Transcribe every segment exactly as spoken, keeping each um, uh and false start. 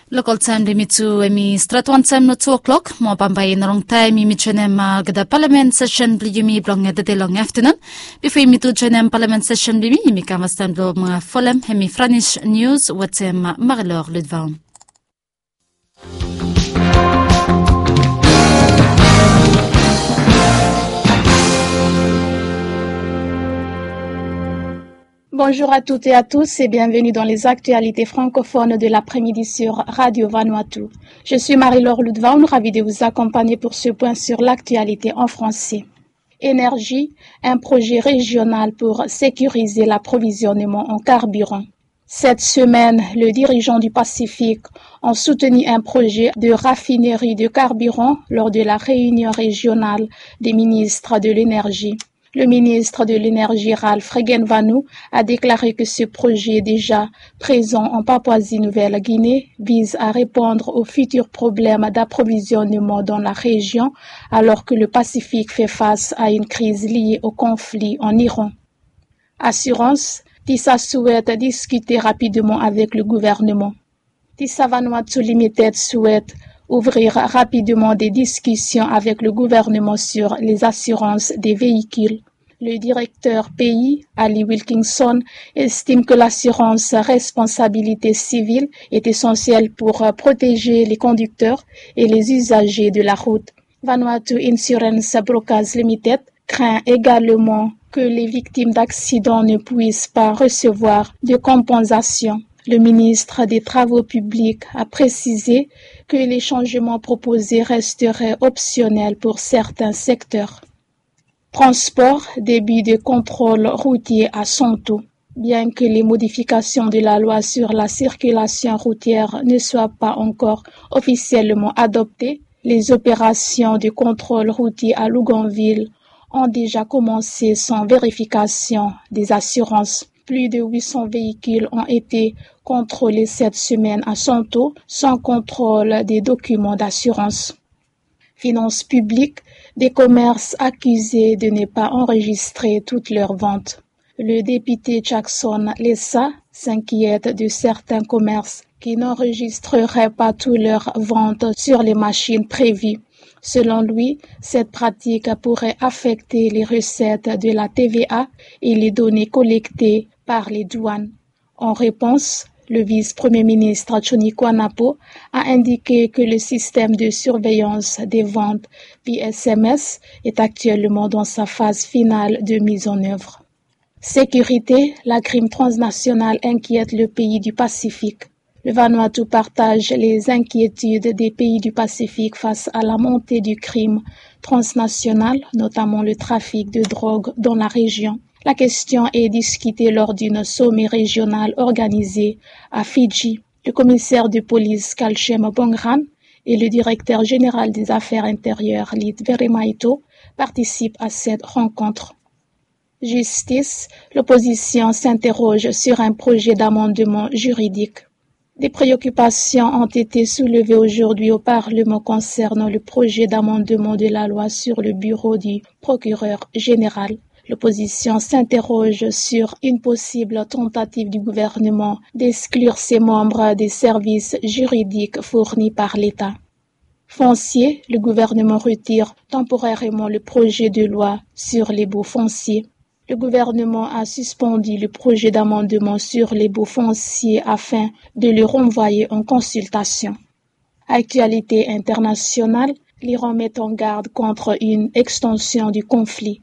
Lokal taem blong yumi tu hemi stret wan taem long tu o'klok mo bambae i no longtaem yumi joenem olgeta palamen sesen blong yumi blong tede long aftenun. Bifo yumi tu joenem palamen sesen blong yumi yumi kam fastaem blong folem hemi franis nius wetem marilor ludvaon. Bonjour à toutes et à tous et bienvenue dans les actualités francophones de l'après-midi sur Radio Vanuatu. Je suis Marie-Laure Ludvaon, ravie de vous accompagner pour ce point sur l'actualité en français. Énergie, un projet régional pour sécuriser l'approvisionnement en carburant. Cette semaine, les dirigeants du Pacifique ont soutenu un projet de raffinerie de carburant lors de la réunion régionale des ministres de l'énergie. Le ministre de l'énergie, Ralph Regenvanu, a déclaré que ce projet déjà présent en Papouasie-Nouvelle-Guinée vise à répondre aux futurs problèmes d'approvisionnement dans la région alors que le Pacifique fait face à une crise liée au conflit en Iran. Assurance, TISA souhaite discuter rapidement avec le gouvernement. TISA Vanuatu Limited souhaite ouvrir rapidement des discussions avec le gouvernement sur les assurances des véhicules. Le directeur pays, Ali Wilkinson, estime que l'assurance responsabilité civile est essentielle pour protéger les conducteurs et les usagers de la route. Vanuatu Insurance Brokers Limited craint également que les victimes d'accidents ne puissent pas recevoir de compensation. Le ministre des Travaux publics a précisé que les changements proposés resteraient optionnels pour certains secteurs. Transport, début de contrôle routier à Santo. Bien que les modifications de la loi sur la circulation routière ne soient pas encore officiellement adoptées, les opérations de contrôle routier à Luganville ont déjà commencé sans vérification des assurances. Plus de huit cents véhicules ont été contrôlés cette semaine à Santo sans contrôle des documents d'assurance. Finances publiques, des commerces accusés de ne pas enregistrer toutes leurs ventes. Le député Jackson Lessa s'inquiète de certains commerces qui n'enregistreraient pas toutes leurs ventes sur les machines prévues. Selon lui, cette pratique pourrait affecter les recettes de la T V A et les données collectées par les douanes. En réponse, le vice-premier ministre Johnny Kwanapo a indiqué que le système de surveillance des ventes P S M S est actuellement dans sa phase finale de mise en œuvre. Sécurité, la crime transnationale inquiète le pays du Pacifique. Le Vanuatu partage les inquiétudes des pays du Pacifique face à la montée du crime transnational, notamment le trafic de drogue dans la région. La question est discutée lors d'un sommet régional organisé à Fidji. Le commissaire de police Kalshem Bongran et le directeur général des affaires intérieures Lit Veremaito participent à cette rencontre. Justice, l'opposition s'interroge sur un projet d'amendement juridique. Des préoccupations ont été soulevées aujourd'hui au Parlement concernant le projet d'amendement de la loi sur le bureau du procureur général. L'opposition s'interroge sur une possible tentative du gouvernement d'exclure ses membres des services juridiques fournis par l'État. Foncier, le gouvernement retire temporairement le projet de loi sur les baux fonciers. Le gouvernement a suspendu le projet d'amendement sur les baux fonciers afin de le renvoyer en consultation. Actualité internationale, l'Iran met en garde contre une extension du conflit.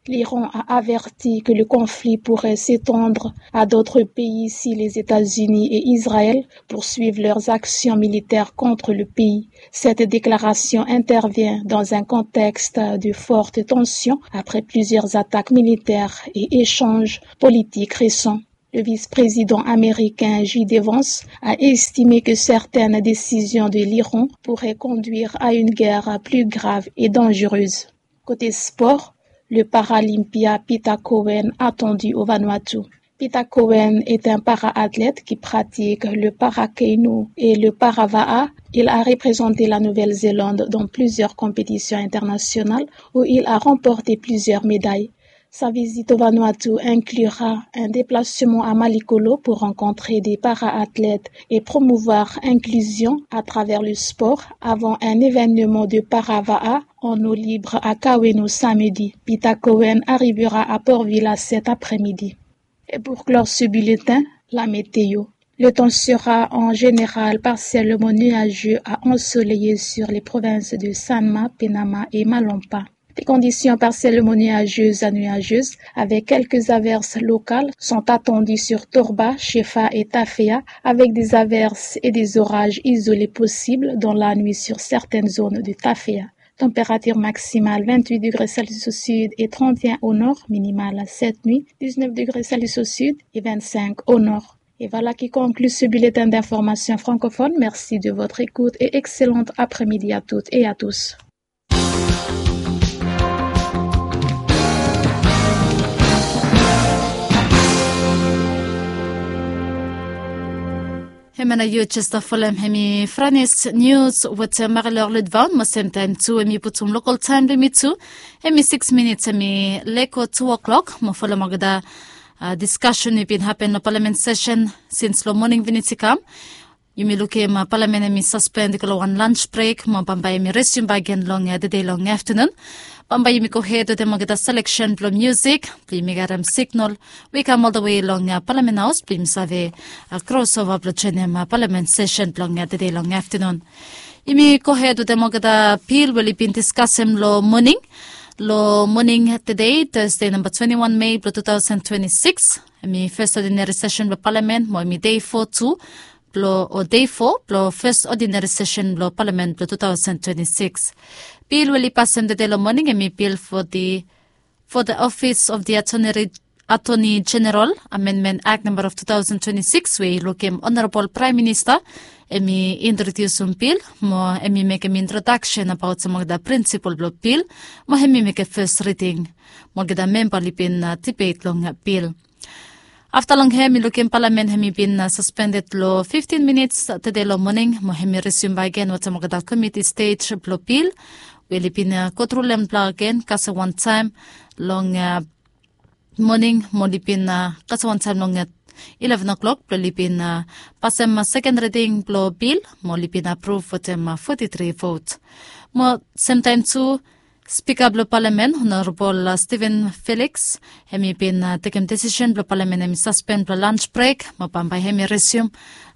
L'Iran a averti que le conflit pourrait s'étendre à d'autres pays si les États-Unis et Israël poursuivent leurs actions militaires contre le pays. Cette déclaration intervient dans un contexte de forte tension après plusieurs attaques militaires et échanges politiques récents. Le vice-président américain J D Vance a estimé que certaines décisions de l'Iran pourraient conduire à une guerre plus grave et dangereuse. Côté sport, le Paralympia Peter Cohen attendu au Vanuatu. Peter Cohen est un para-athlète qui pratique le para-keinu et le para-vaʻa. Il a représenté la Nouvelle-Zélande dans plusieurs compétitions internationales où il a remporté plusieurs médailles. Sa visite au Vanuatu inclura un déplacement à Malikolo pour rencontrer des para-athlètes et promouvoir l'inclusion à travers le sport avant un événement de Parava'a en eau libre à Kaweno samedi. Peter Cohen arrivera à Port Vila cet après-midi. Et pour clore ce bulletin, la météo. Le temps sera en général partiellement nuageux à ensoleillé sur les provinces de Sanma, Penama et Malompa. Des conditions partiellement nuageuses à nuageuses, avec quelques averses locales, sont attendues sur Torba, Shefa et Tafea, avec des averses et des orages isolés possibles dans la nuit sur certaines zones de Tafea. Température maximale vingt-huit degrés Celsius au sud et trente et un au nord, minimale cette nuit, dix-neuf degrés Celsius au sud et vingt-cinq au nord. Et voilà qui conclut ce bulletin d'information francophone. Merci de votre écoute et excellent après-midi à toutes et à tous. Hemia nao yu jes folem hemi Franis nius wetem Marilor Lidvaon, mo semtaem tu hemi putum lokol taem blong yumi tu. Hemi sikis minits hemi leko tu o'klok, mo folem olgeta diskasen we i bin hapen long palamen sesen sins long moning minits i kam. Yumi lukim palamen hemi saspen i go long wan lans brek, mo bambae hemi resium bakegen long tede long aftanun. Bambae yumi gohed wetem olgeta seleksen blong musik blong yumi gat signal we i kam oltawe long palamen haos blong yumi save krosova blong joenem palamen sesen blong tede long aftanun. Yumi gohed wetem olgeta bil we oli bin diskasem long moning, long moning tede, Tasde namba twenti wan Mei blong tu taosen twenti sikis. Hemi fes odinari sesen blong palamen, mo hemi dei fo tu blong, o dei fo blong fes odinari sesen blong palamen blong tu taosen twenti sikis. Bil we oli pasem tede long moning hemi bil fo the, fo the Office of the Attorney, Attorney General Amendment Act namba of tu taosen twenti sikis, we i lukim Honorabol Praem Minista hemi introdiusum bil, mo hemi mekem introdaksen abaot olgeta prinsipol blong bil, mo hemi mekem fes riding. Mo olgeta memba oli bin dibet long bil. Afta long hem, mi lukim palamen hemi bin saspended long fiftin minits tede long moning, mo hemi resium bakegen wetem olgeta komiti stej blong bil we oli bin gotru long hem bakegen kasem wantaem long moning, mo oli bin kasem wantaem long ileven o'klok blong oli bin pasem seken riding blong bil, mo oli bin apruv wetem foti tri vot. Mo semtaem tu, Spika blong palamen, Honorabol Steven Felix, hemi bin tekem desisen blong palamen hemi saspen blong lans brek, mo bambae hemi resium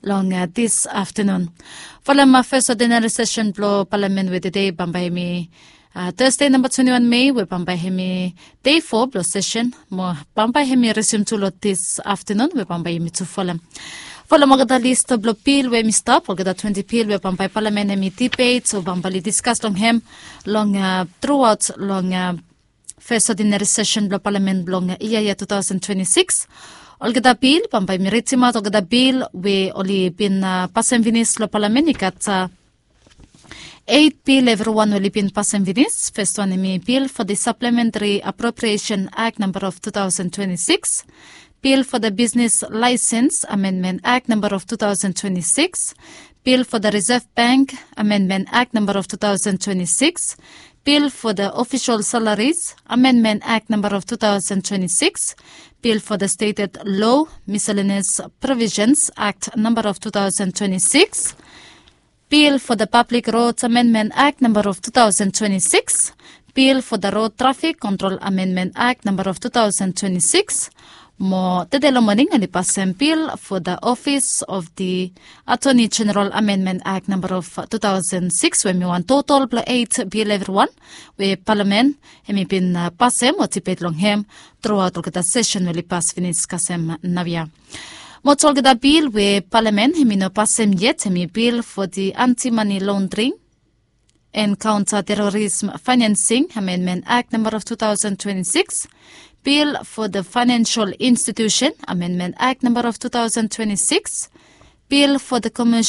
long dis aftanun. Folem fes odinari sesen blong palamen we tede, bambae hemi Tasde namba twenti wan Mei, we bambae hemi dei fo blong sesen, mo bambae hemi resium tu long dis aftanun, we bambae yumi tu folem. Folem olgeta lis blong bil we hemi stap, olgeta twenti bil we bambae palamen hemi dibet o bambae oli diskas long hem long truaot long fes odinari sesen blong palamen blong yia ya tu taosen twenti sikis. Olgeta bil, bambae yumi ridimaot olgeta bil we oli bin pasem finis long palamen. I gat eit bil evriwan we oli bin pasem finis. Fes wan hemi bil fo the Supplementary Appropriation Act namba of tu taosen twenti sikis, bil fo the Business License Amendment Act namba of tu taosen twenti sikis, bil fo the Reserve Bank Amendment Act namba of tu taosen twenti sikis, bil fo the Official Salaries Amendment Act namba of tu taosen twenti sikis, bil fo the Stated Law Miscellaneous Provisions Act namba of tu taosen twenti sikis, bil fo the Public Roads Amendment Act namba of tu taosen twenti sikis, bil fo the Road Traffic Control Amendment Act namba of tu taosen twenti sikis. Mo tede long moning oli pasem bil fo the Office of the Attorney General Amendment Act namba of tu taosen sikis, we hemi wan totol blong eit bil evriwan we palamen hemi bin pasem o dibet long hem truaot olgeta sesen we oli pas finis kasem naoia. Mo tu olgeta bil we palamen hemi no pasem yet, hemi bil fo the Anti-Money Laundering and Counter-Terrorism Financing Amendment Act namba of tu taosen twenti sikis, bil fo the Financial Institution Amendment Act namba of tu taosen twenti sikis, bil fo the Commercial